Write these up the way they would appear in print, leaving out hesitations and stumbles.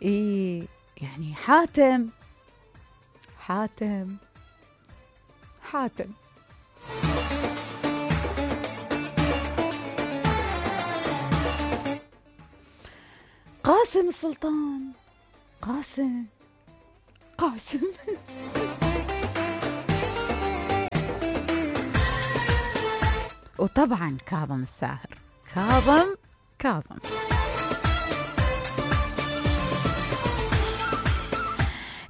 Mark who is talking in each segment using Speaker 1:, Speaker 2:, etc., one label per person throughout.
Speaker 1: إيه يعني حاتم حاتم حاتم. قاسم السلطان، قاسم قاسم. وطبعا كاظم الساهر، كاظم.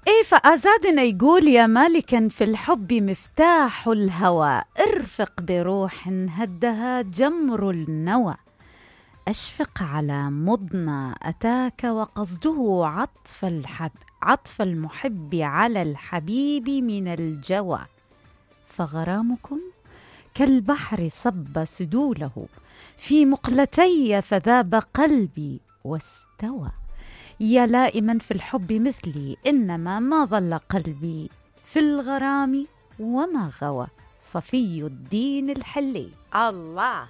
Speaker 1: ايه فأزادنا يقول يا مالكا في الحب مفتاح الهوى، ارفق بروح هدها جمر النوى، أشفق على مضنى أتاك وقصده عطف المحب على الحبيب من الجوى، فغرامكم كالبحر صب سدوله في مقلتي فذاب قلبي واستوى، يا لائما في الحب مثلي إنما ما ظل قلبي في الغرام وما غوى، صفي الدين الحلي. الله.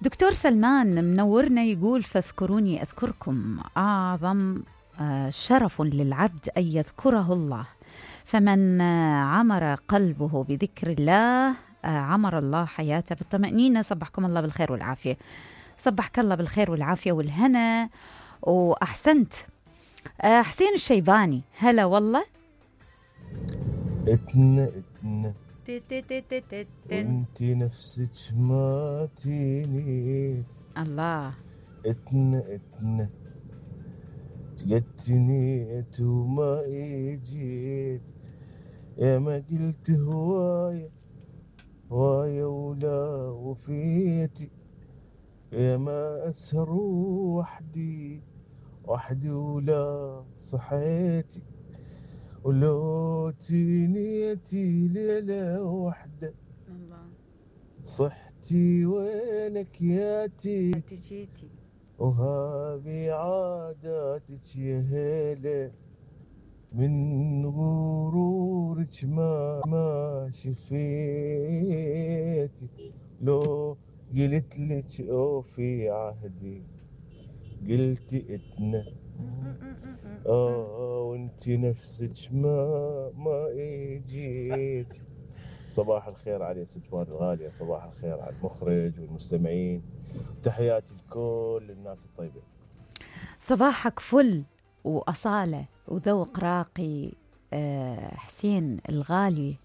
Speaker 1: دكتور سلمان منورنا يقول فاذكروني أذكركم، أعظم شرف للعبد أن يذكره الله، فمن عمر قلبه بذكر الله عمر الله حياته بالطمأنينة. صبحكم الله بالخير والعافية. صبحك الله بالخير والعافية والهنا، وأحسنت. حسين الشيباني هلا والله.
Speaker 2: انت نفسك ما تنيت
Speaker 1: الله،
Speaker 2: اتنا جتنيت وما اجيت، يا ما قلت هواية ولا وفيتي، يا ما اسهر وحدي ولا صحيتي، ولو تنيتي ليلة وحدة صحتي وينك يا تيتي، وهذه عاداتك يا هيلة، من غرورك ما شفيتي، لو قلت لك اوفي عهدي قلتي اتنا، وانت نفسك ما اجيت. صباح الخير على ستوان الغالية، صباح الخير على المخرج والمستمعين، تحياتي لكل الناس الطيبة.
Speaker 1: صباحك فل وأصالة وذوق راقي. حسين الغالي،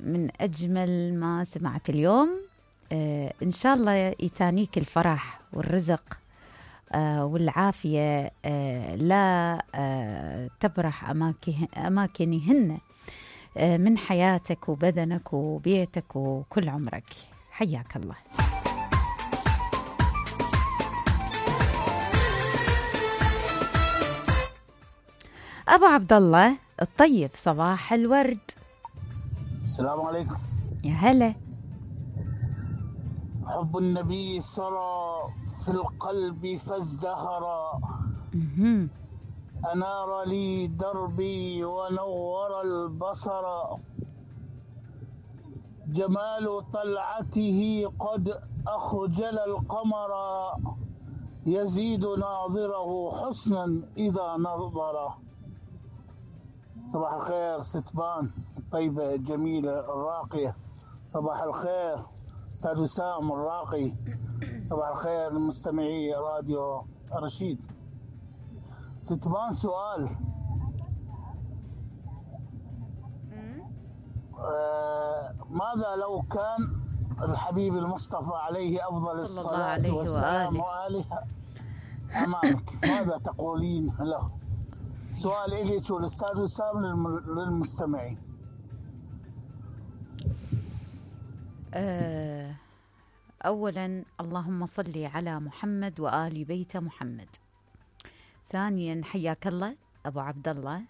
Speaker 1: من أجمل ما سمعت اليوم. إن شاء الله يتانيك الفرح والرزق والعافية، لا تبرح أماكنهن من حياتك وبدنك وبيتك وكل عمرك. حياك الله. أبو عبد الله الطيب، صباح الورد.
Speaker 3: السلام عليكم.
Speaker 1: يا هلا.
Speaker 3: حب النبي سرى في القلب فازدهرا، أنار لي دربي ونور البصر، جمال طلعته قد أخجل القمر، يزيد ناظره حسنا إذا نظر. صباح الخير ستبان الطيبة الجميلة الراقية. صباح الخير أستاذ وسام الراقي. صباح الخير لمستمعي راديو رشيد. ستبان سؤال، ماذا لو كان الحبيب المصطفى عليه أفضل الصلاة والسلام وآله أمامك، ماذا تقولين له؟ سؤال إليك والأستاذ وسام للمستمعين.
Speaker 1: أولا اللهم صل على محمد وآل بيت محمد. ثانيا حياك الله أبو عبد الله.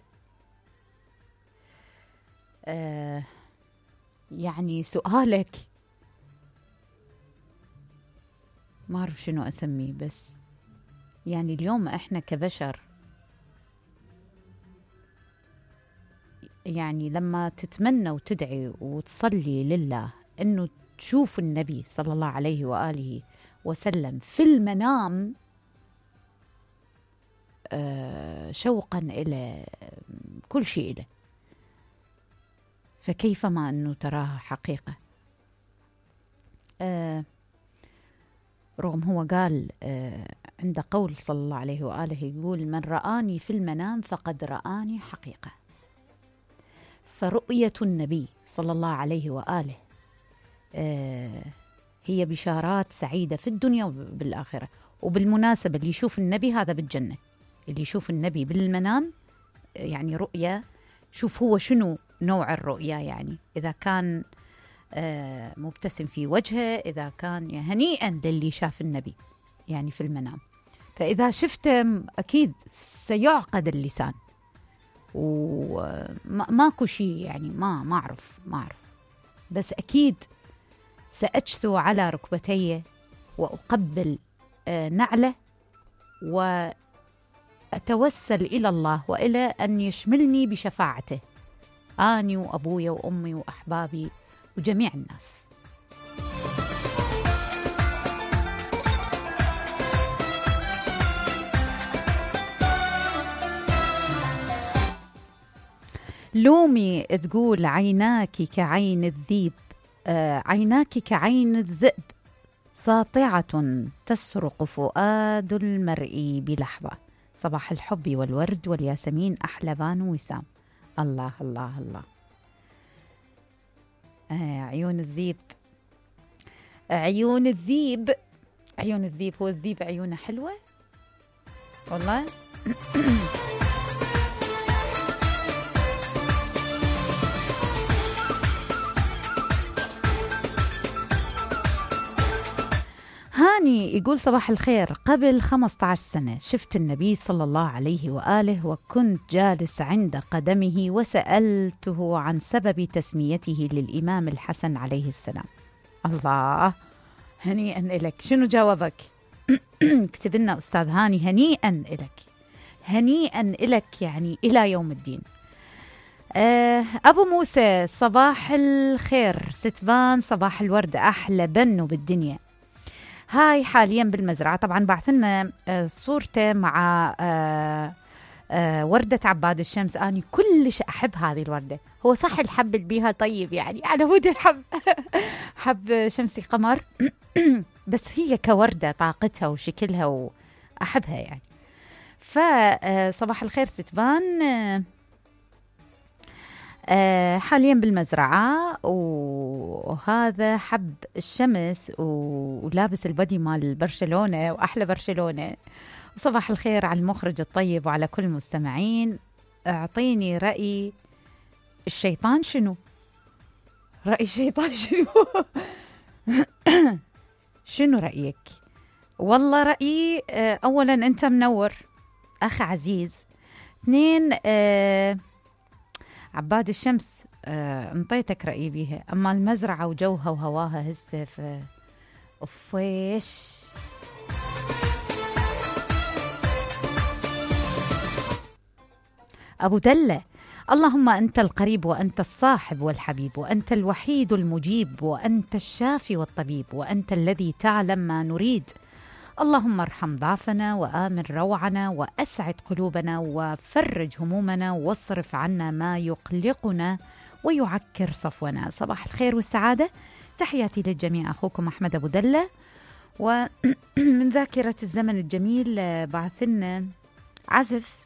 Speaker 1: يعني سؤالك ما أعرف شنو أسميه، بس يعني اليوم إحنا كبشر يعني لما تتمنى وتدعي وتصلي لله أنه تشوف النبي صلى الله عليه وآله وسلم في المنام شوقا إلى كل شيء إليه، فكيف ما أنه تراها حقيقة. رغم هو قال عند قول صلى الله عليه وآله يقول من رآني في المنام فقد رآني حقيقة. فرؤية النبي صلى الله عليه وآله هي بشارات سعيدة في الدنيا وبالآخرة. وبالمناسبة اللي يشوف النبي هذا بالجنة، اللي يشوف النبي بالمنام يعني رؤية. شوف هو شنو نوع الرؤية، يعني إذا كان مبتسم في وجهه، إذا كان هنيئا للي شاف النبي يعني في المنام. فإذا شفته أكيد سيعقد اللسان وماكو شيء يعني ما أعرف بس أكيد سأجثو على ركبتي وأقبل نعله وأتوسل إلى الله وإلى أن يشملني بشفاعته، أني وأبوي وأمي وأحبابي وجميع الناس. لومي تقول عيناك كعين الذيب، عيناك كعين الذئب ساطعة تسرق فؤاد المرء بلحظة. صباح الحب والورد والياسمين أحلى بانو وسام. الله الله الله. عيون الذيب، عيون الذيب، عيون الذيب. هو الذيب عيونه حلوة والله. هاني يقول صباح الخير، قبل 15 سنة شفت النبي صلى الله عليه وآله وكنت جالس عند قدمه وسألته عن سبب تسميته للإمام الحسن عليه السلام. الله، هنيئا إلك. شنو جاوبك؟ اكتب لنا أستاذ هاني. هنيئا إلك، هنيئا إلك يعني إلى يوم الدين. أبو موسى صباح الخير ستبان، صباح الورد، أحلى بنو بالدنيا. هاي حاليا بالمزرعة. طبعا بعثلنا صورته مع وردة عباد الشمس. أنا كلش أحب هذه الوردة. هو صح الحب اللي بيها طيب، يعني على ود الحب حب شمسي قمر بس هي كوردة طاقتها وشكلها وأحبها يعني. فصباح الخير ستبان. حاليا بالمزرعة، وهذا حب الشمس ولابس البدي مال برشلونة وأحلى برشلونة. صباح الخير على المخرج الطيب وعلى كل المستمعين. اعطيني رأي الشيطان. شنو رأي الشيطان؟ شنو شنو رأيك؟ والله رأيي أولا أنت منور أخ عزيز. 2 عباد الشمس انطيتك رأيي بيها، أما المزرعة وجوها وهواها هسه أفويش. أبو دلة، اللهم أنت القريب وأنت الصاحب والحبيب وأنت الوحيد المجيب وأنت الشافي والطبيب وأنت الذي تعلم ما نريد. اللهم ارحم ضعفنا وآمن روعنا وأسعد قلوبنا وفرج همومنا واصرف عنا ما يقلقنا ويعكر صفونا. صباح الخير والسعادة، تحياتي للجميع. أخوكم أحمد أبو دلة. ومن ذاكرة الزمن الجميل بعثلنا عزف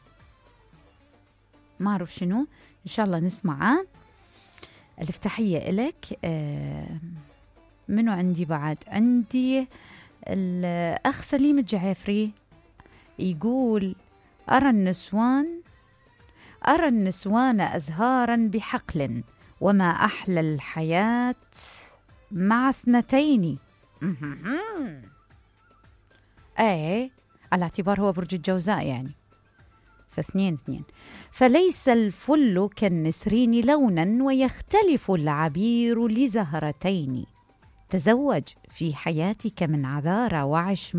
Speaker 1: ما أعرف شنو، إن شاء الله نسمعه. ألف تحية إلك. منو عندي بعد؟ عندي الأخ سليم الجعفري يقول أرى النسوان أزهارا بحقل وما أحلى الحياة مع 2. أي على اعتبار هو برج الجوزاء يعني، ف2 فليس الفل كالنسرين لونا ويختلف العبير لزهرتين. تزوج في حياتك من عذارى وعش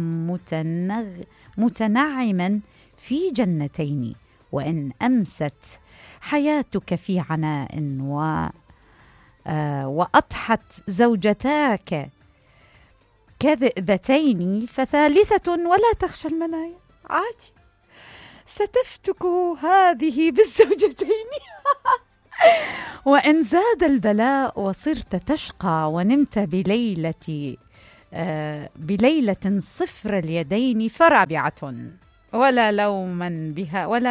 Speaker 1: متنعما في جنتين. وإن أمست حياتك في عناء وأضحت زوجتاك كذئبتين فثالثة ولا تخشى المنايا. عادي، ستفتك هذه بالزوجتين. وإن زاد البلاء وصرت تشقى ونمت بليلة صفر اليدين فرابعة ولا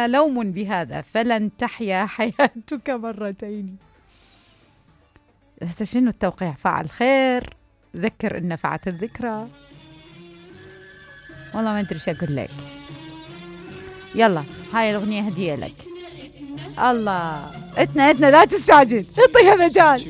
Speaker 1: لوم بهذا فلن تحيا حياتك مرتين. شنو التوقيع؟ فعل خير، ذكر إن نفعت الذكرى. والله ما أدري إيش أقول لك. يلا هاي الأغنية هدية لك. الله، اتنا لا تستعجل، اعطيها مجال.